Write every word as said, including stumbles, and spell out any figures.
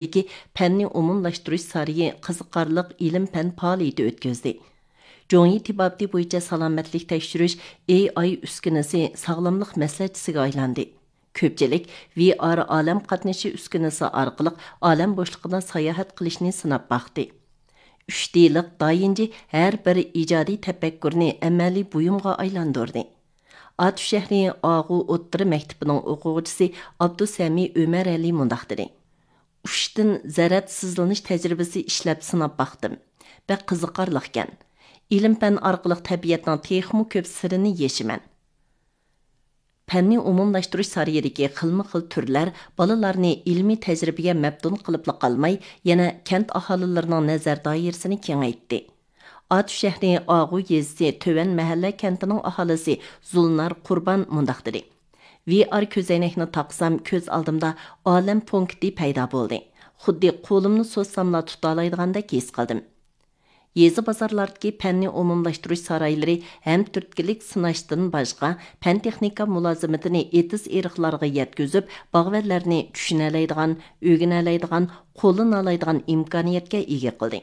دىكى پەننى ئومۇملاشتۇرۇش سارىيى قىزىقارلىق ئىلىم-پەن پائالىيىتى ئۆتكۈزدى. جۇڭيى تېبابىتى بويىچە سالامەتلىك تەكشۈرۈش ئېي ئاي ئۈسكۈنىسى ساغلاملىق مەسلىھەتچىسىگە ئايلاندى. كۆپچىلىك ۋى ئار ئالەم قاتنىشى ئۈسكۈنىسى ئارقىلىق ئالەم بوشلۇقىدا ساياھەت قىلىشنى سىناپ باقتى. ئۈچ دىلىق دايىنجى ھەر بىر ئىجادىي تەپەككۇرنى ئەمەلىي بۇيۇمغا ئايلاندۇردى. ئاتۇش شەھىرى ئاغۇ ئوتتۇرا مەكتىپىنىڭ ئوقۇغۇچىسى ئابدۇسەمى ئۆمەرئەلى مۇنداق دېدى: ئۇچتىن زەرەت سىزلىنىش تەجرىبىسى ئىشلەپ سىناپ باقتىم. بەك قىزىقارلىقكەن. ئىلىم-پەن ئارقىلىق تەبىئەتنىڭ تېخىمۇ كۆپ سىرىنى يېشىمەن. پەننى ئومۇملاشتۇرۇش سارىيىدىكى خىلمۇ خىل تۈرلەر بالىلارنى ئىلمىي تەجرىبىگە مەپتۇن قىلىپلا قالماي، يەنە كەنت ئاھالىلىرىنىڭ نەزەر دائىرىسىنى كېڭەيتتى. ئاتۇش شەھىرى ئاغۇ يېزىسى تۆۋەن مەھەللە كەنتىنىڭ ئاھالىسى زۇلنار قۇربان مۇنداق دېدى: ۋى ئار كۆزەينەكنى تاقىسام، كۆز ئالدىمدا ئالەم پونكىتى پەيدا بولدى. خۇددى قولۇمنى سوزساملا تۇتالايدىغاندەك ھېس قىلدىم. يېزا بازارلاردىكى پەننى ئومۇملاشتۇرۇش سارايلىرى ھەم تۈرتكىلىك سىناشتىن باشقا، پەن تېخنىكا مۇلازىمىتىنى ئېتىز-ئېرىقلارغا يەتكۈزۈپ، باغۋەنلەرنى چۈشىنەلەيدىغان، ئۆگىنەلەيدىغان، قوللىنالايدىغان ئىمكانىيەتكە ئىگە قىلدى.